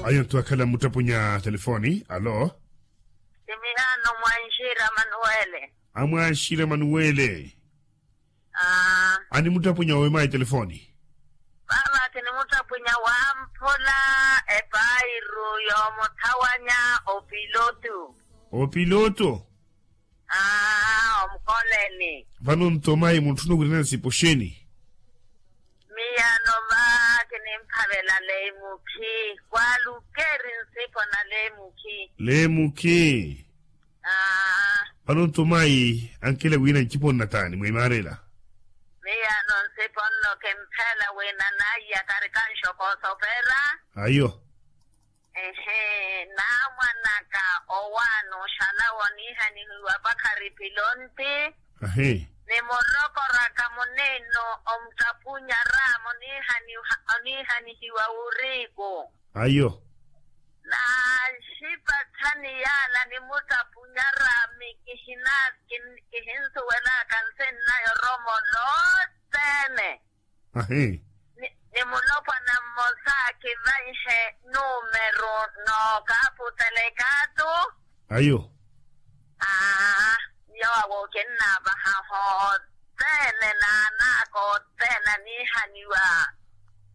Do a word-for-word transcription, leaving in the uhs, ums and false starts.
Ayo nthu akhala mmuttapunya telefoni alo. Simihano mwanxira manuwele. Amwanxira manuwele. Animuttapunya owe mayi telefoni. Vava kinimuttapunya wamphola epairu yoomuthawanya opilotu. Opilotu. Aa omukoleni. Vano nto mayi muntthuna owiirana nsipo xeeni? Miya nova kinimphavela leimukhi kwaalukeeri nsipo na leimukhi. Leimukhi. Aa. Vano nto mayi ankela wiina ncipo nnataani mwimaarela? Miya no nsipo nno kimphela wiina naiya karikanxo koosopera. Ayo. Ehe naamwanaka owaana oxalawa oniihanihiwa pakhari pilonti. Ahi. Nimurokoraka muniino omuttapunyara muniihanihiwa wuriiku. Ayo. Naaxipathani yaala nimuttapunyara mi kihinsuwelaka nsinnayo oromo noothene. Ahi. Ni mulopwana mmosa kivanxe numeru nookaputela ekaatu. Ayo. Aa. Yoowo kinnaavaha hothene naanaaka othene aniihaniwa.